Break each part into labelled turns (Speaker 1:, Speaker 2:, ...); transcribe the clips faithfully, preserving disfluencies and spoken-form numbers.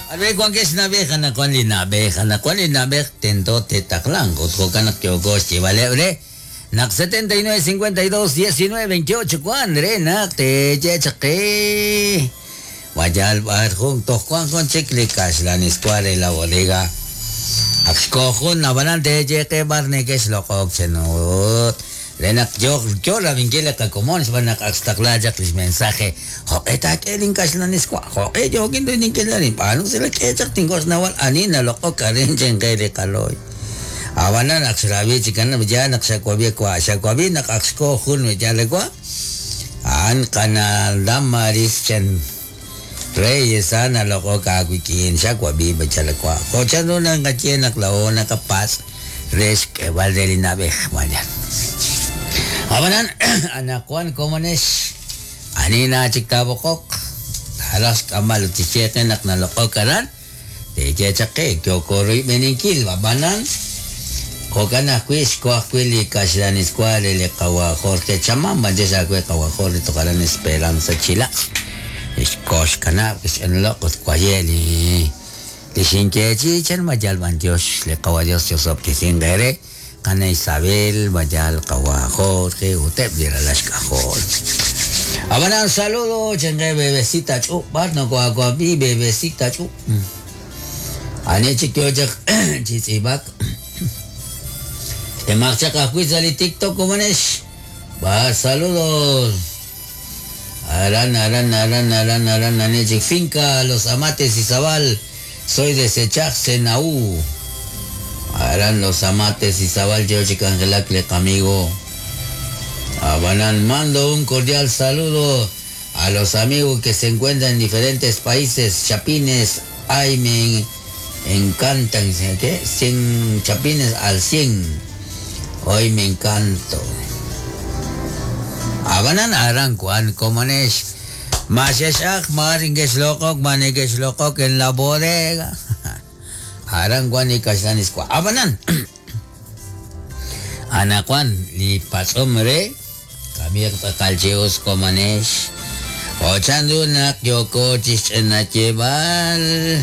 Speaker 1: Arbe wankex nab'ej anaqwan li nab'ej anaqwan li nab'ej tento tetaqlanq ut jo'kan naq yooko xyeeb'aleb' re naq setenta y nueve cincuenta y dos diecinueve veintiocho wan re naq teyechaqqe wayal b'ar jun toj wan jun chik li kaxlaniswa re la bodega ak xkojun ab'anan teyeqe b'ar nekex loq'ok chenut re naq yo yo rabinkil li qakomon xb'aan naq ak xtaqla chaq lix mensaje jo'q'e taak'e lin kaxlaniswa jo'q'e yookin rininkil arin b'aanu si la k'e chaq tinkox nawal ani naloq'ok arin chenqe li qaloy ab'anan ak xrabi chikan ya naq xakuabi kwa xakuabi naq ak xkojun yalekwa an qana Damaris chen Reyes ana loq'ok awikin xakuabi bachalekwa jo'chan runa nqaye naq la ona kapas rex k'eb'al de li nab'ej mañan Abanan, anakuan komonesh, anina chiktabokok, halas kamal utichete nak nalokok karan, teche chake, kyokoroy beninkil, babanan, jokan akuis, koakuili kashlaniskuale le kawa Jorge Chamán, bandes akue kawa Jorge tocaran Esperanza Chila, iskosh kanab, isenlokot kuayeli, lishinkechi, chen mayal bandios, le kawa Dios yosoptisin gere, Ana Isabel, Bayal, Kawa Jorge, Utep, Lashkajol. Abanan, saludo, chengue, bebecita chu, barno, coacuapi, bebecita chu. Ane chiquio, chitzibak. Te marcha cajuiza, TikTok, como es. Va, saludos. Aran, aran, aran, aran, aran, ane chic, finca, Los Amates, Izabal. Soy de Sechach, Senaú. Aran Los Amates, Izabal, George Angelacle, amigo. Abanan, mando un cordial saludo a los amigos que se encuentran en diferentes países. Chapines, ay, me encantan. ¿Qué? cien chapines al cien. Hoy me encanto. Abanan, aran, kuan, comonesh. Masheshach, maringesh lokok, manegesh lokok en la bodega. Aran Juan y Kaxlaniswa. Abanan. Anakuan, li pasomre, kamir takalcheos komanesh. Ochandu nak yoko chichenachebal.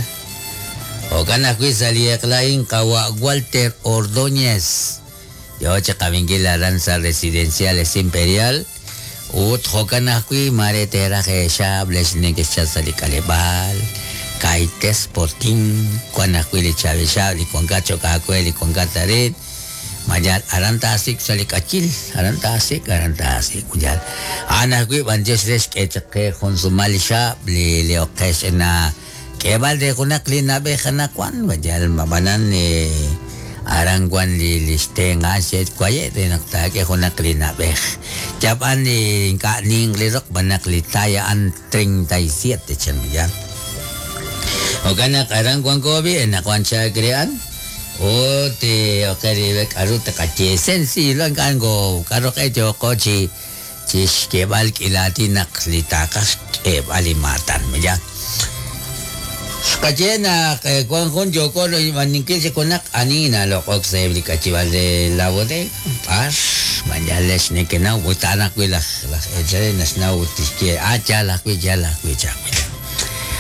Speaker 1: Okanakui salieklain kawa Walter Ordóñez. Yo chakabingil aranza residenciales imperial. Ut jokanakui maretera jeshab lesnekeschasalicalebal. Kaites portín, cuanacuili chavishab, con gacho cacueli con gataret, mayal arantasik salikachil, arantasik, arantasik, cuyal. Anacui banjes les que cheque con su malisha, le le oques en la que valde con la clina bejana cuan, mayal mabanan eh aranguan li listen aset cuaye de nocta que con la clina bej. Chapan ni ning li rock banaklitaya an treinta y siete chan ya. Okana karang kuan kobi en kuan chakrian o te okari karu te kache sensi lo kango karo ke yo kochi chis ke bal kilati nak litakas ke balimatan ya kachena kuan con yo ko lo maninkil se konak anina lo kok se kachival de la bodega pas mañales ne que na botana kuila la echare nas na utiske a chala kuila kuila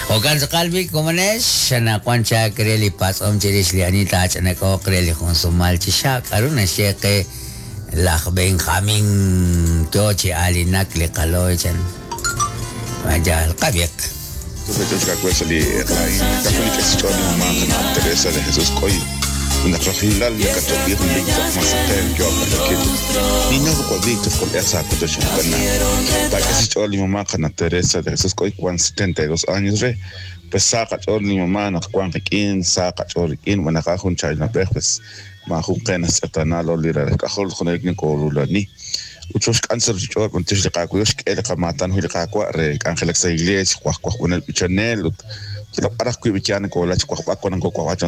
Speaker 1: Okan sakalbi komanesh na kwancha kreli pas om chirish li anita chanako kreli konsumal chisha karuna sheke laj Benjamin tochi alinak li kaloy chan majal qabiq
Speaker 2: Teresa de Jesús Coy una fragilidad y católica más yo niño con esa mamá Teresa de Jesús Coy cuan setenta y dos años re pues saca mi mamá no cuan riquín saca choriquín buena cajun chayna pues majuqenas atanalo lira cajol con el colulani uchos cáncer yo con tis de cacuyos que el camatan huilcacua re Ángeles Iglesia cuac cuac con el pichanel lo para cuivichane con la cuac cuac con cuac